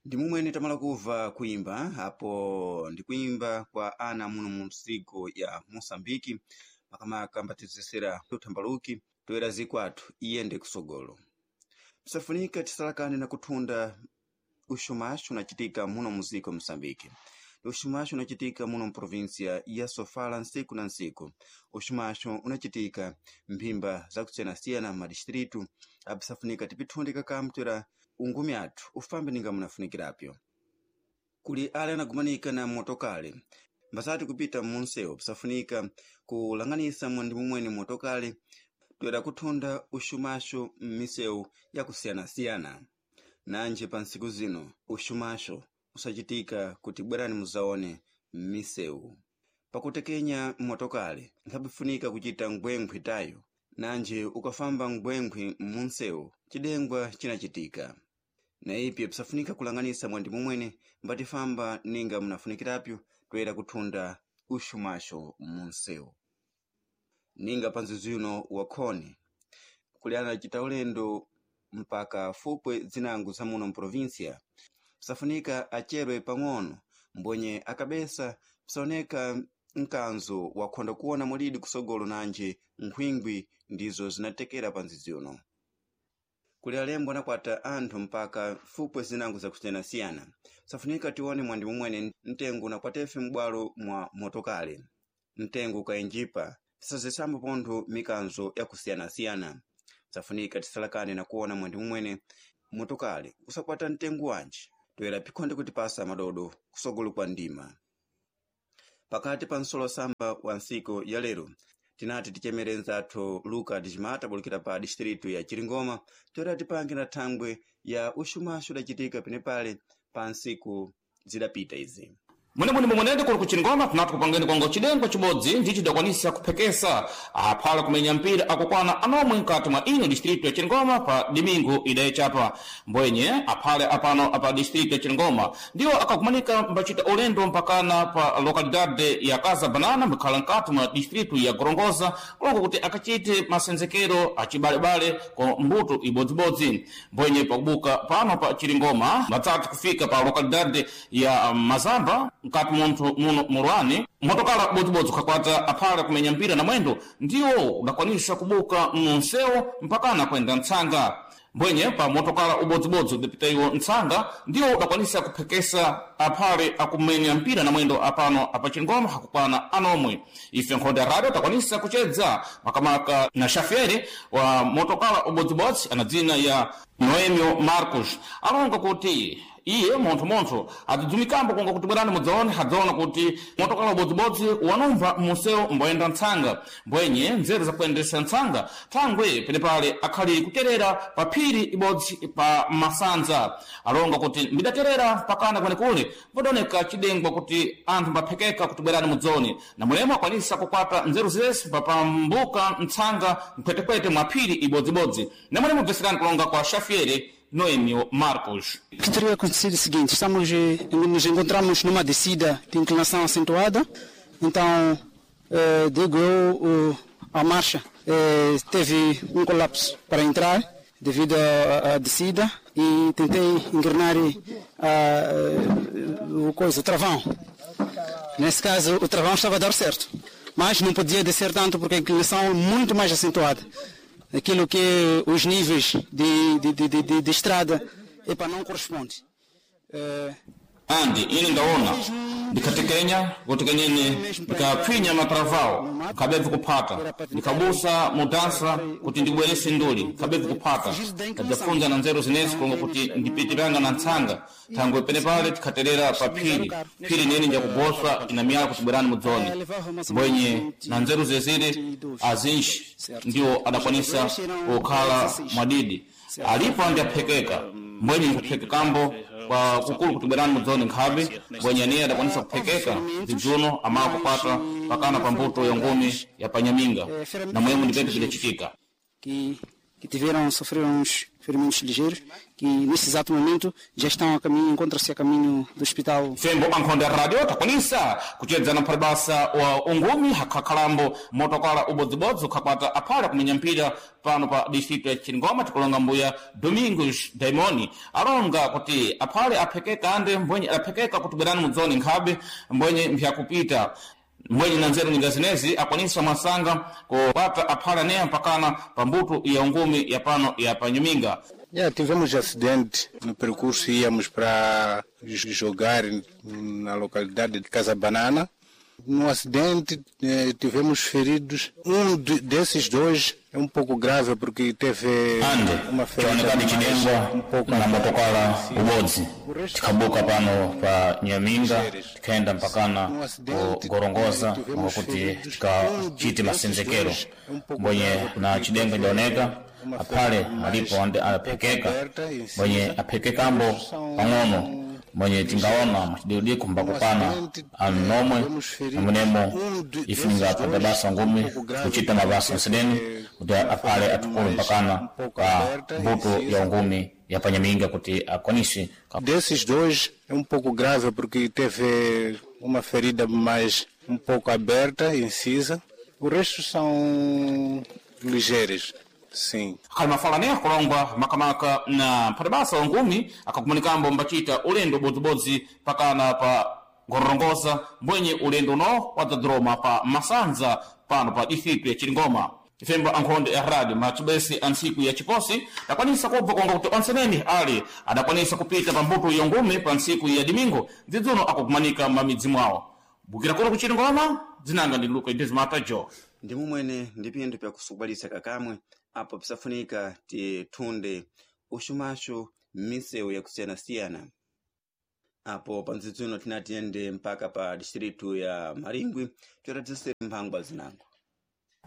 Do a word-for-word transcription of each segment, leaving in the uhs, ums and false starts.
Ndi mumwene tamala kuva kuimba apo ndi kuimba kwa ana muno mu nsiku ya Moçambique makamaka ambatizesera uthambaluki toera zikwathu iyende kusogolo. Pisafunika tisalakane na kuthunda uxumaxo unacitika muno muziko Moçambique. Uxumaxo unacitika muno mprovinsia ya Sofala nsiku na nsiku. Uxumaxo unacitika mphimba zakusiyanasiyana m'madistritu apisafunika tipithunde kakamu toera ungumi athu ufambe ninga munafunikirapyo. Kuli ale anagumanika na motokale mbasati kupita munsewu pisafunika kulang'anisa mwandi mumwene motokale toera kuthunda uxumaxo m'misewu yakusiyanasiyana. Nanje pa ntsiku zino uxumaxo usacitika kuti bwerani muzaone m'misewu. Pakutekenya motokale nkhapifunika kucita ngwengwe tayo nanje ukafamba ngwengwe munsewu cidengwa cinacitika. Na ipyo pisafunika kulang'anisa mwandi mumwene mbatifamba ninga munafunikirapyo toera kuthunda uxumaxo munsewu. Ninga pa nzuzu uno wakhoni kuli anacita ulendo mpaka fupwe zinango za muno mprovinsia pisafunika acerwe pang'ono mbwenye akabesa pisaoneka mkanzo wakhonda kuona mulidi kusogolo nanje nkhwingwi ndizo zinatekera pa nzizi uno. Kuli alembo anakwata anthu mpaka fupwe zinango zakusiyanasiyana pisafunika tione mwandi mumwene mtengo unakwatefe m'bwalo mwa motokale mtengo ukaenjipa tisazisambo pontho mikanzo yakusiyanasiyana. Pisafunika tisalakane na kuona mwandi mumwene motokale usakwata mtengo wanji toera pikhonde kutipasa madodo kusogolo kwa ndima. Pakati pa nsolosamba wa ntsiku ya lero tinati ticemere nzathu Luka Dicimata bulukira pa distritu ya Chiringoma toera tipange na thangwe ya uxumaxo udacitika penepale pa ntsiku zidapita izi. Mwenemwene momwenene kuli kuchingoma kunati kupangeni kwango cidengwa cibodzi ndi cidakwanisa kuphekesa aphala kumenya mpira akukwana anomwe mkati mwa ino distritu ya Chingoma pa dimingu idayechapa mbwenye aphale apano apa distritu ya Chingoma ndiwo akakumanika mbacita ulendo mpakana pa lokalidade ya Casa Banana mbikhala mkati mwa distritu ya Gorongosa kulongo kuti akachite masenzekero acibalebale kwa mbuto ibodzibodzi mbwenye pakubuka pano pa Chiringoma matsathu kufika pa lokalidade ya Mazamba mkati munthu muno mulwani motokala bodzibodzi ukhakwata aphala kumenya mpira na mwendo ndiwo udakwanisa kubuka munsewu mpakana kwenda mtsanga mbwenye pa motokala ubodzibodzi udapita iwo mtsanga ndiwo udakwanisa kuphekesa aphale akumenya mpira na mwendo apano apachingoma hakukwana anomwe ife nkhonde ya radio takwanisa kuchedza makamaka na xafere wa motokala ubodzibodzi ana dzina ya Noemio Marcos alonga kuti iye munthu-munthu adzidzumikambo kunga kuti bwerani mudzaone adzaona kuti motokala ubodzibodzi wanumva munsewu mboyenda ntsanga mbwenye nzeru zakuyendesa ntsanga thangwe penepale akhali kuterera pa phiri ibodzi pa masanza alonga kuti mbidaterera pakana kwenekule podaoneka cidengwa kuti anthu mbaphekeka kuti bwerani mudzaone na mulemo akwanisa kukwata nzeru zese papambuka ntsanga mkhwetekwete mwa phiri ibodzibodzi namulemo bveserani kulonga kwa Xavier Noemio Marcos. O que teria acontecido é o seguinte, estamos, eh, nos encontramos numa descida de inclinação acentuada, então, eh, digo eu, o- a marcha eh, teve um colapso para entrar devido à, à descida e tentei engrenar eh, a, eh, o coisa, o travão. Nesse caso, o travão estava a dar certo, mas não podia descer tanto porque a inclinação é muito mais acentuada. Aquilo que os níveis de, de, de, de, de, de estrada epa, não corresponde. Eh, Andi ine ndaona ndikhatekenya kuti kenyene ndikapfinya matravao nkhabebve kuphata ndikhabusa mudansa kuti ndibwerese nduli nkhabebve kuphata ndadzafunza na nzeru zinezi kulonga kuti ndipitiranga na ntsanga thangwe penepale tikhaterera pa phiri phiri nene njakugoswa ina miyala kuti bwerani mudzone mbwenye na nzeru zezire azinji ndiwo adakwanisa kukhala mwadidi alipo andi aphekeka mbwenye nkuphekekambo kwa kukulu kuti bwerani mudzone nkhabe mbwenye aniye adakwanisa kuphekeka zidzuno amala kukwata pakana pa mbuto ya ngumi ya panyaminga na mwemo ndipete pidachitika que, que tiveram, sofreram uns ferimentos ligeiros, que nesse exato momento já estão a caminho, encontram-se a caminho do hospital. Fembo ankhonde radio takwanisa kuchedzana mphalibasa wa ungumi hakhakhalambo motokala ubodzibodzi ukhakwata aphale kumenya mpira pano pa distrito ya Chingoma tikulonga mbuya Domingos Daimoni alonga kuti aphale aphekeka ande mbwenye adaphekeka kuti bwerani mudzone nkhabe mbwenye mphyakupita mbwenye na nzeru nyinga zinezi akwanisa mwasanga kupata aphale aneya mpakana pa mbuto ya ungumi ya pano ya panyuminga. Yeah, tivemos acidente no percurso, íamos para jogar na localidade de Casa Banana. No acidente eh, tivemos feridos. Um de, desses dois é um pouco grave porque teve ande uma ferida chionekadi mais chidengwa um pouco na motokala ubodzi tikhabuka pano pa nyaminga tikhaenda mpakana ku gorongoza mwakuti tikachite masenzekero mbwenye na chidenga idaoneka aphale alipo ande aphekeka mbwenye aphekekambo pang'ono mwenye tingaona machidikudiko mbakupana anomwe namunemo ifuninga phata basa ngumi kuchita mabasa nsideni kuti aphale atukulu mpakana ka mbuto ya ungumi ya panyaminga kuti akwanise ka Desses dois é um pouco grave porque teve uma ferida mais um pouco aberta, incisa. O resto são ligeiras, sim. khali mafala ne kulongwa makamaka na mphatibasa wa ngumi akakumanikambo mbachita ulendo ubodzibodzi pakana pa gorongosa mbwenye ulendo uno wadzadroma pa masanza pano pa distritu ya Chilingoma. Ifembo ankhonde ya radio macibesi a ntsiku ya chiposi dakwanisa kubva konga kuti onseneni ali adakwanisa kupita pa mbuto ya ngumi pa ntsiku ya dimingo dzidzuno akukumanika m'mamidzi mwawo. Bukira kuno ku Chilingoma, dzinanga ndi Luka Idezimata Jo. Ndi mumwene ndi pinthu pyakusukubalitsa kakamwe apo pisafunika tithunde uxumaxu m'misewu yakusiyanasiyana. Apo pa ndzidzuno tinatiyende mpaka pa distritu ya Maringwi totatise mphangwa zinango.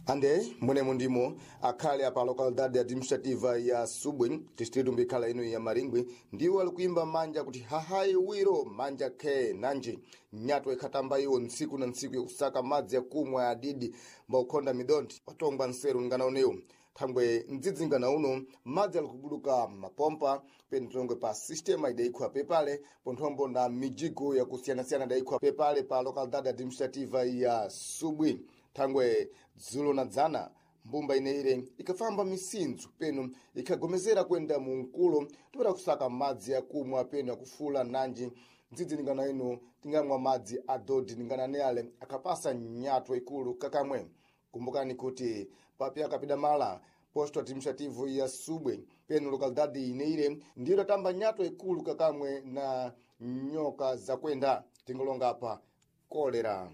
Ande munemo ndimo akhale apa localidade administrativa ya Subwe distrito mbikhala ino ya Maringwi ndiwo ali kuimba manja kuti hahayi wiro manja khe nanji nyato ikhatamba iwo ntsiku na ntsiku yakusaka madzi yakumwa adidi mbaukhonda midontho watongwa nseru ngana unewu thangwe mdzidzingana uno madzi ali kubuduka mapompa penitongwe pa sistema idayikhwa pepale ponthombo na mijigo yakusiyanasiyana idayikhwa pepale pa localidade administrativa ya Subwe. Thangwe dzulo na dzana mbumba ineire ikafamba misintsu peno ikhagomezera kwenda mu mkulo tipera kusaka madzi akumwa peno akufula nanji ndzidzi ningana ino tingamwa madzi adodi ningana ne ale akapasa nyatwa ikulu kakamwe. Kumbukani kuti papya akapida mala posto administrativo ya Subwe peno localidade ineire ndiyo idatamba nyatwa ikulu kakamwe na nyoka zakwenda tingolonga apa kolera.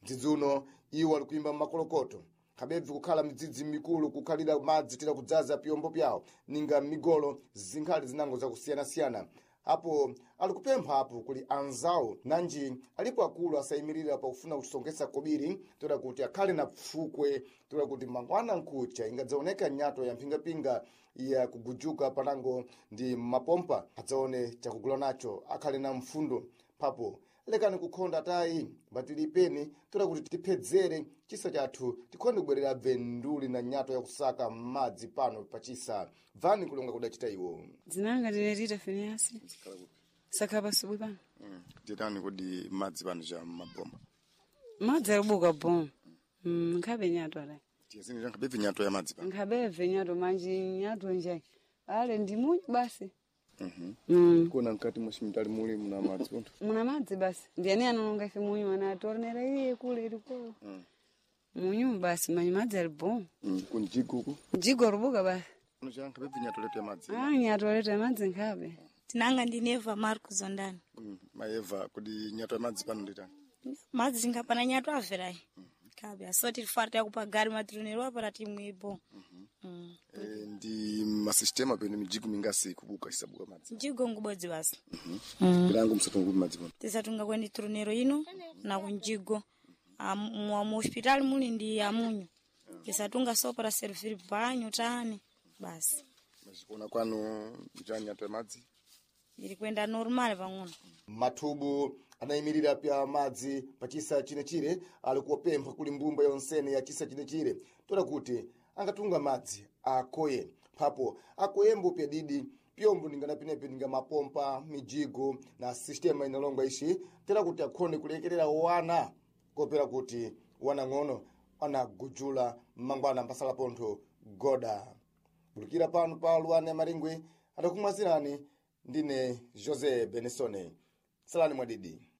Mdzidzi uno iwo ali kuimba makolokoto kabebvi kukhala midzidzi mikulu kukhalira madzi tira kudzaza pyombo pyawo ninga migolo zinkhali zinango zakusiyanasiyana apo ali kupempha apo kuli anzawo nanji alipo akulu asayimirira pakufuna kusongesa kobiri toda kuti akhale na pfukwe toda kuti mangwana nkucha ingadzaoneka nyato ya mphingapinga ya kugujuka panango ndi mapompa adzaone chakugula nacho akhale na mfundo papo lekani kukhonda tayi mbatilipeni toda kuti tiphedzere chisa chathu tikhonde kubwerera bvenduli na nyato yakusaka madzi pano pachisa bvani kulonga kudachita iwo. Dzinanga ndine Rita Phineas. Sakhala pasubwi pano. Titani kodi madzi pano cha mabomba? Madzi akubuka bom. Mm, nkhabe nyato ala. Tiyazini nkhabe nyato ya madzi pano. Nkhabe nyato manji nyato nje. Ale ndi munyu basi. Mhm. Mm. Kuona mkati mwa chimitali muli muna madzi pontho. Muna madzi basi. Ndiyani anonga ife munyu ana atornera iye kule iliko. Mm. Munyu basi manyi madzi ali bom. Mm. Kunjigo uku. Jigo rubuka basi. Pano cha nkhabe nyato letu ya madzi. Ah, nyato letu ya madzi nkhabe. Tinanga ndine Eva Marcos Zondani. Mm. Maeva kodi nyato ya madzi pano nditani? Madzi ngapana nyato averayi. Kabe asoti tifarta yakupa gari matirunero apa timwepo. Mm. E, ndi masistema pene mijigo mingasi kubuka isabuka madzi. Njigo ngubodzi basi. Mm. Bilango msatunga kupi madzi pano. Tisatunga kweni turunero ino na kunjigo. Mu mu hospital muli ndi amunyu. Tisatunga sopa ra servir banyo tani basi. Mazikuona kwanu njani nyato ya madzi? Iri kwenda normal pang'ono. Mathubu anayimirira pya madzi pa chisa chinechire ali kuwapempha kuli mbumba yonsene ya chisa chinechire toda kuti angatunga madzi akoye phapo akoyembo pyadidi pyombo ningana pinepi ninga mapompa mijigo na sistema inalongwa ixi tera kuti akhone kulekerera wana kopera kuti wanang'ono anagujula mmangwana mpasala pontho goda bulukira pano pa luane maringwe adakumwazirani ndine José Benesone salani mwadidi.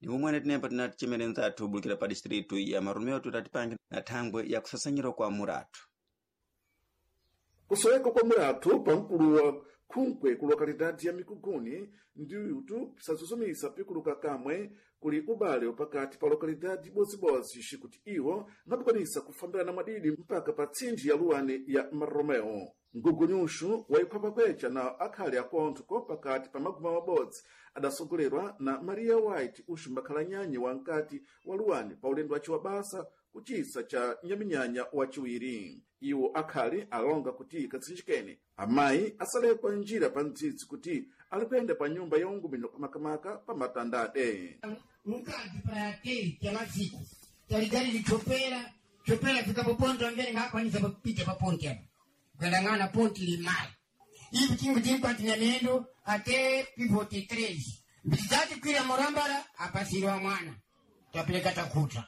Ni momwene tinemba tinati chimene nzathu bulukira pa distritu ya Marumeo tutatipange na thangwe ya kusasanyira kwa muratu. Kusoweka kwa muratu pamkulu wa khunkwe ku lokalidade ya Mikuguni ndiyutu pisazuzumisa pikuluka kamwe kuli ubale pakati pa lokalidade ibodzi-bodzi xikuti iwo angadikwanisa kufambirana mwadidi mpaka pa tsinji ya luwani ya Maromeo. Mgugunyuxu wa ikhwapakweca na akhali akontho ko pakati pa maguma mabodzi adasogolerwa na Maria White uxu mbakhala nyanyi wa nkati wa luwani pa ulendo wace wa basa kucisa cha nyaminyanya waciwiri. Iwo akhali alonga kuti katsinjikeni amayi asalekwa njira pa mdzidzi kuti ali kuyenda pa nyumba ya ungumino makamaka pa matandade. Mukati pra te cha masiku taligari lichopera chopera fika poponto ambere ngakwanisa papita paponti apa kwendang'ana ponti limali ivi chingu tinkwati mendo ate pivoti três mbizati kwira murambara apasiriwa mwana tapeleka takuta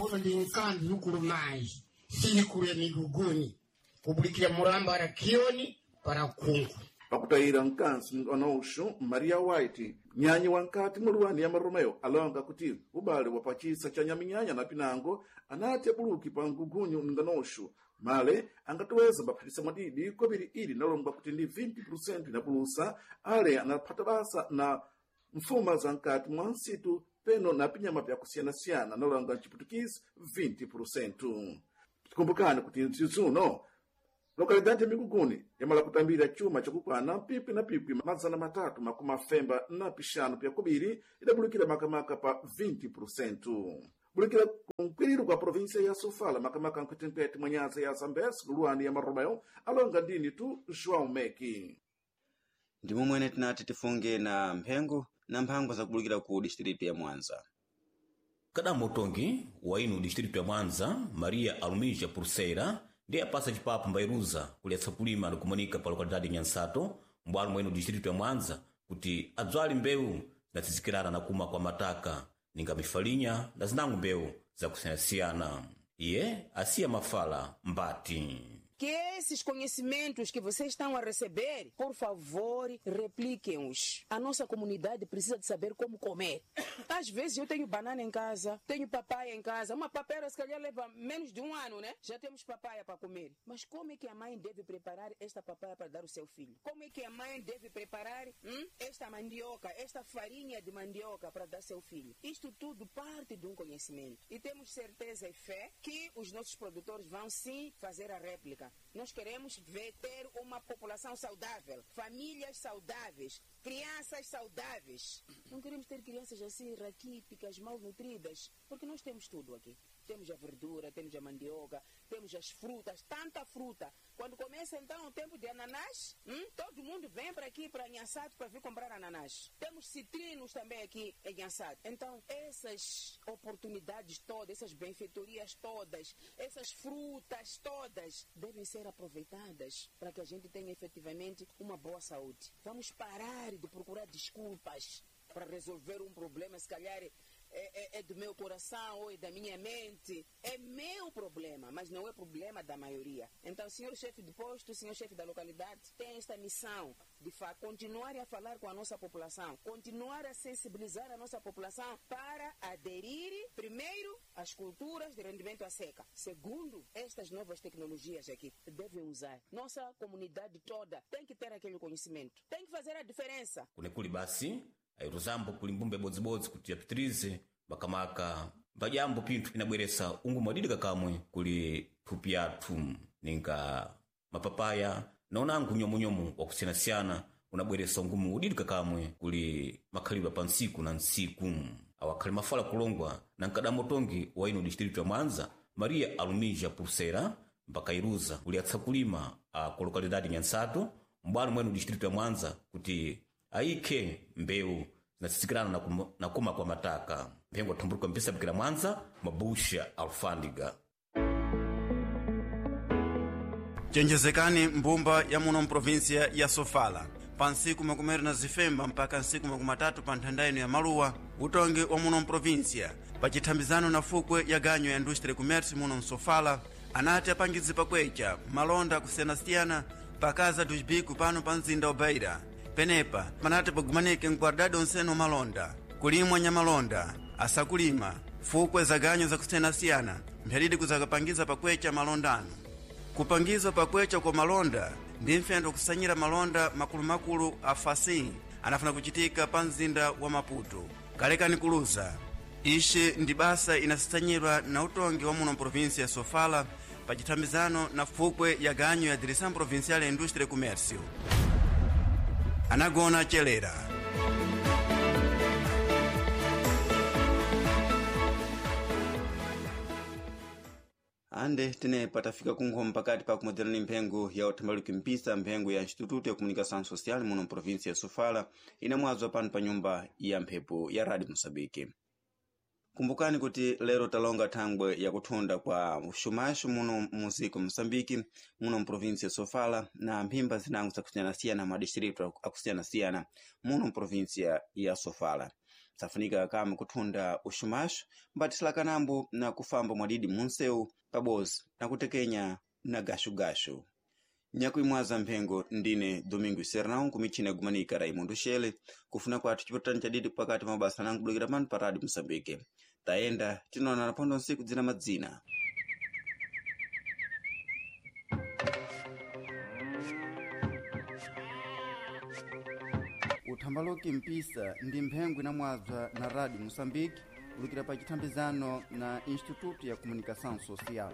uno ndi nkanzi ukulumayi sinikulu miguguni kubulikira murambara kioni para kungu. Pakutayira mkansi mng'ono Maria White nyanyi wankati muluwani ya Maromeo alonga kuti ubale wa pachisa cha nyaminyanya na pinango anati abuluki pa mgugunyu mng'onoxu male angatoweza mbaphatisa mwadidi kobiri ili nalongwa kuti ndi vinte inapulusa ale anaphata basa na mfuma za nkati mwa nsitu peno na pinyama pyakusiyanasiyana nalonga mciputukisi vinte. Tikumbukani kuti mzizuno lokalidade ya Mikuguni yamala kutambira chuma chakukwana pipi na pipi mazana matatu makumi afemba na pixanu pyakubiri idabulukira makamaka pa vinte. Bulukira kunkwiriro kwa província ya Sofala makamaka nkhwetenkhwete mwa nyanza ya Zambezi kuluwani ya Maromeo alonga ndini tu João Meki. Ndi momwene tinati tifunge na mphengo na mphangwa zakubulukira ku distritu ya Mwanza. Kadamu utongi wa inu distritu ya Mwanza Maria Alumija Pulseira ndiye apasa cipapo mbairuza kuletsa kulima ndikumanika pa lokalidade Nyansato mbwalo mwa inu distritu ya Mwanza kuti adzwale mbewu zinatizikirana na kuma kwa mataka ninga mifalinya na zinango mbewu zakusiyanasiyana. Iye asiya mafala mbati. Que esses conhecimentos que vocês estão a receber, por favor, repliquem-os. A nossa comunidade precisa de saber como comer. Às vezes eu tenho banana em casa, tenho papaya em casa. Uma papaya se calhar leva menos de um ano, né? Já temos papaya para comer. Mas como é que a mãe deve preparar esta papaya para dar ao seu filho? Como é que a mãe deve preparar hum, esta mandioca, esta farinha de mandioca para dar ao seu filho? Isto tudo parte de um conhecimento. E temos certeza e fé que os nossos produtores vão sim fazer a réplica. Nós queremos ver, ter uma população saudável, famílias saudáveis, crianças saudáveis. Não queremos ter crianças assim raquíticas, malnutridas, porque nós temos tudo aqui. Temos a verdura, temos a mandioca, temos as frutas, tanta fruta. Quando começa então o tempo de ananás, hum, todo mundo vem para aqui, para Nhansato, para vir comprar ananás. Temos citrinos também aqui em Nhansato. Então, essas oportunidades todas, essas benfeitorias todas, essas frutas todas, devem ser aproveitadas para que a gente tenha efetivamente uma boa saúde. Vamos parar de procurar desculpas para resolver um problema, se calhar é, é, é do meu coração ou é da minha mente. É meu problema, mas não é problema da maioria. Então, senhor chefe de posto, senhor chefe da localidade, tem esta missão de continuar a falar com a nossa população, continuar a sensibilizar a nossa população para aderir, primeiro, às culturas de rendimento à seca. Segundo, estas novas tecnologias aqui devem usar. Nossa comunidade toda tem que ter aquele conhecimento, tem que fazer a diferença. Kunekuli basi airuzambo kuli mbumba ibodzibodzi kuti yapitirize makamaka mbajambo pinthu inabweresa ungumu wadidika kamwe kuli thupi yathu ninga mapapaya na unango unyomunyomu wakusiyanasiyana unabweresa ungumu udidika kamwe kuli makhalidwe pa ntsiku na ntsiku. Awakhali mafala kulongwa na mkadamotongi wa ino distritu ya Mwanza Maria Alumija Pulsera mpakairuza kuliatsa kulima a ku lokalidade Nyansato mbwalo mwenu distritu ya Mwanza kuti ayikhe mbewu zinatsikirana na, kum, na kuma kwa mataka. Mphengo athumbuluka mpisabikira Mwanza mabusha alfândiga. Chenjezekani mbumba ya muno mprovinsia ya Sofala pa ntsiku makumi awiri na zifemba mpaka ntsiku makumi atatu pa nthanda ino ya maluwa, utongi wa muno mprovinsia pachithambizano na fukwe ya ganyo ya industria commerce muno msofala anati apangize pakwecha malonda akusiyanasiyana pakaza dos bico pano pa mzinda wa Beira. Penepa panati pagumanike mkwardadi onsene malonda kulimwa nyamalonda asakulima fukwe za ganyo zakusiyanasiyana mphyalidi kuzakapangiza pakwecha malondano. Kupangizwa pakwecha kwa malonda ndi mfendo kusanyira malonda makulumakulu a fasin anafuna kuchitika pa mzinda wa Maputo. Kalekani kuluza ixi ndi basa inasisanyidwa na utongi wa muno mprovinsia ya Sofala pa chithambizano na fukwe ya ganyo ya Direção Provincial ya Indústria e Comércio. Anagona chelera. Ande tene patafika kunkhoma pakati pa kumodzerani mphengo ya uthambaluki mpisa mphengo ya Instituto ya Comunicação Social muno mprovinsia ya Sofala inamwazwa pano pa nyumba ya mphepo ya Radio Moçambique. Kumbukani kuti lero talonga thangwe yakuthunda kwa uxumaxu muno muziko Moçambique muno mprovinsia ya Sofala na mphimba zinango zakusiyanasiyana madistritu akusiyanasiyana muno mprovinsia ya Sofala. Safunika kama kuthunda uxumaxu mbatislakanambo na kufamba mwadidi munsewu pabozi na kutekenya na gaxugaxu. Nyakuimwaza mphengo ndine Domingo Sernão kumichina yagumanika Raimundo Shele kufuna kwathu chipatani chadidi pakati mabasa nangu bulukira pano pa Radio Moçambique. Tayenda tinoonana pondo nsiku dzina madzina. Uthambaloki mpisa ndi mphengo inamwazwa na Radio Moçambique kulukira pa chithambizano na Instituto ya Comunicação Social.